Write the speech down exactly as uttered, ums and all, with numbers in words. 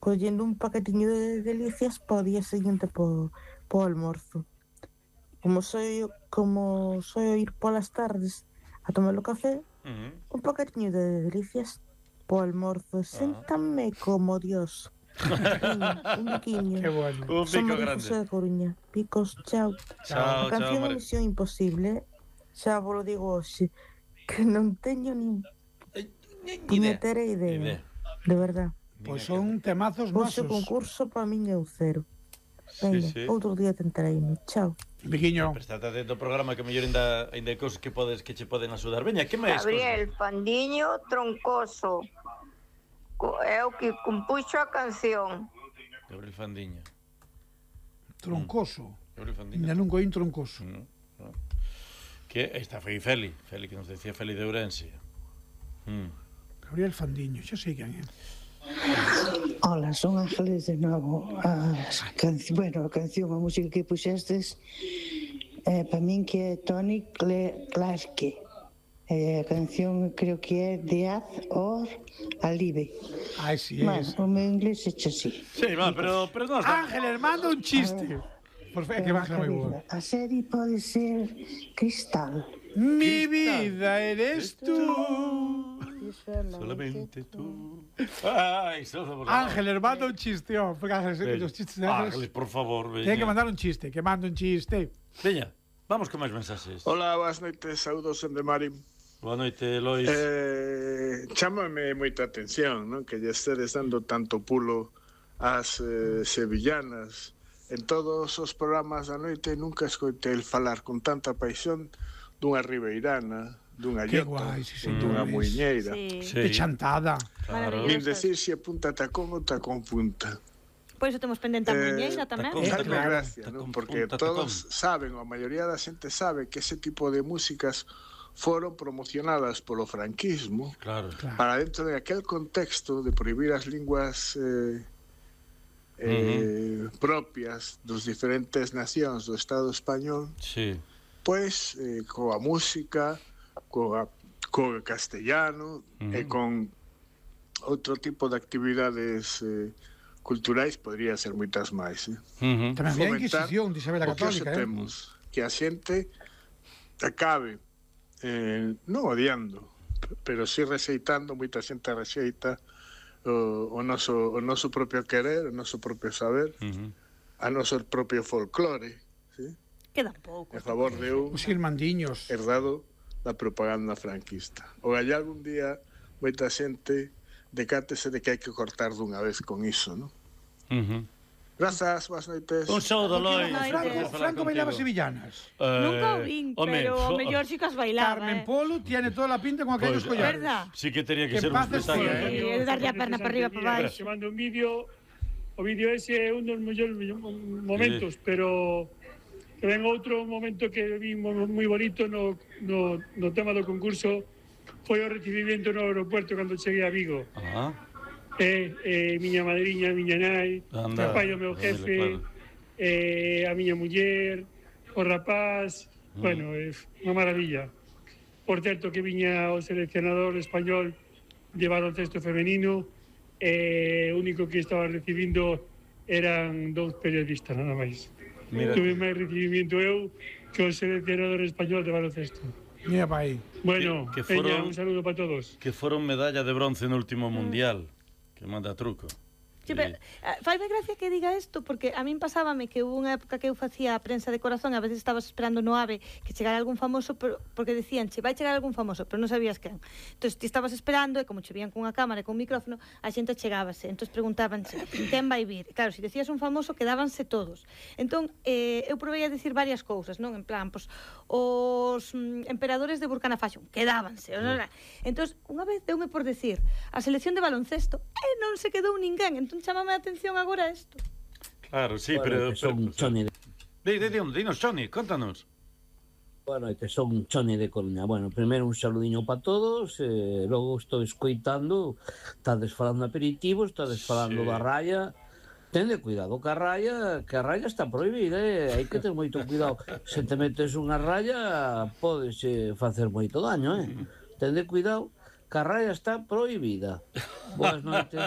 collendo un paquetiño de delicias para o día seguinte po, po almorzo. Como soy como soy ir polas tardes a tomar o café, Uh-huh. un paquetiño de delicias po almorzo. Séntame como Dios. Veña, un biquiño. Qué bueno. Un Son pico María grande. José de Coruña. Picos, chao. Chao, A canción chao, é María. Misión Imposible, xa vos lo digo hoxe, que non teño nin puñetera idea. Idea. De verdad. Pois son temazos Hoxe nosos. o concurso para min é un cero. Sí, Venga, sí. outro día tentarei-me. Chao. Biquiño. Prestate atento ao programa que mellor ainda ainda hai cousas que podes que che poden axudar. Veña, que máis? Gabriel Fandiño Troncoso Co- é o que compuxo a canción. Gabriel Fandiño. Troncoso. Gabriel Fandiño. Ainda non coín troncoso. No, no. Que esta foi Feli, Feli que nos decía Feli de Ourense. Mm. Gabriel Fandiño, xa sei quen é. Hola, son Ángeles de novo. As canci... Bueno, a canción, a música que puxestes, eh, para min que é Tony Cle- Clarke. Eh, a canción creo que é Death or Alive. Ai, si, é Bueno, esa. o meu inglés é así. Sí, va, pero pero non está. Ángeles, manda un chiste. Por fe, que baja moi boa. A serie pode ser Cristal. Mi vida eres tú. Solamente tú. Ai, solo por favor. Ángeles, manda un chiste, oh, porque Ángeles, Veña. os chistes de Ángeles, Ángeles. por favor, veña. Ten que mandar un chiste, que manda un chiste. Veña, vamos con máis mensaxes. Hola, boas noites, saúdos en de Mari. Boa noite, Lois. Eh, chámame moita atención, non? Que lle estedes dando tanto pulo ás eh, sevillanas. En todos os programas da noite nunca escoitei el falar con tanta paixón dunha ribeirana, dunha Que llota, guai, sí, dunha señores. muiñeira. Sí. Sí. De chantada. Claro. Nin decir se punta tacón ou tacón punta. Por iso temos pendente a muñeira tamén. tacón, Eh, Fai claro. gracia, Tacón non? Porque punta, todos saben, ou a maioría da xente sabe que ese tipo de músicas foron promocionadas polo franquismo Claro. Claro. para dentro de aquel contexto de prohibir as linguas eh, eh, propias dos diferentes nacións do Estado español, Sí. pois eh, coa música, coa, coa castellano Ujú. e con outro tipo de actividades eh, culturais, podría ser moitas máis. Eh? Uh-huh. Tamén había a Fomentar Inquisición de Isabel a O que hoxe Católica, eh? temos, que a xente acabe eh, non odiando, p- pero si rexeitando, moita xente rexeita o, o, noso, o noso propio querer, o noso propio saber, Uh-huh. a noso propio folclore, ¿sí? Quedan poucos. a favor de un Os irmandiños. herdado da propaganda franquista. O gallá algún día moita xente decátese de que hai que cortar dunha vez con iso, non? Uh-huh. Grazas, boas noites. Un saúdo, Lois. Ay, Franco, Franco, Franco bailaba sevillanas. Eh, Nunca o vin, home, pero fo- o mellor si que as bailaba, Carmen eh. Polo tiene toda la pinta con aquellos Pois, collares. Verdad? Sí que tenía que Que ser un en paz espectáculo. descanse. Sí, é darlle a perna para arriba, para baixo. Se manda un vídeo, o vídeo ese é un dos mellores momentos, pero que ven outro momento que vi mo- moi bonito no, no, no tema do concurso foi o recibimento no aeropuerto cando cheguei a Vigo. Ah, E, e miña madriña, miña nai, Anda, o pai do meu dile, jefe, claro. e a miña muller, o rapaz, Mm. bueno, é unha maravilla. Por certo que viña o seleccionador español de baloncesto femenino e o único que estaba recibindo eran dous periodistas, nada máis. mira. Tuve máis recibimiento eu que o seleccionador español de baloncesto. Mira pa aí. Bueno, Que- que veña, foron- un saludo para todos. Que foron medalla de bronce no último mundial. Que manda truco. Sí, pero, eh, faime gracia que diga isto porque a min pasábame que hubo unha época que eu facía a prensa de corazón, a veces estabas esperando no AVE que chegara algún famoso, pero, porque decían, che, vai chegar algún famoso, pero non sabías quen. Entón, ti estabas esperando e como che vían cunha cámara e cun micrófono, a xente chegábase. Entón, preguntábanse, quen vai vir? E, claro, se decías un famoso, quedábanse todos. Entón, eh, eu provei a decir varias cousas, non? En plan, pues, os mm, emperadores de Burkina Faso, quedábanse. Sí. Entón, unha vez deume por decir a selección de baloncesto e non se quedou ninguén. Entón, chamame a atención agora isto. Claro, sí, Bueno, pero... que son pero- Choni de... Di, di, di, dinos, Choni, contanos. Boa noite, son Choni de Coruña. Bueno, primeiro un saludiño para todos, eh, logo estou escoitando, estades falando de aperitivos, estades falando Sí. da raya. Tende cuidado ca raya, que a raya está prohibida, eh? Hai que ter moito cuidado. Se te metes unha raya, podes eh, facer moito daño, eh? Tende cuidado, que a raya está prohibida. Boas noites.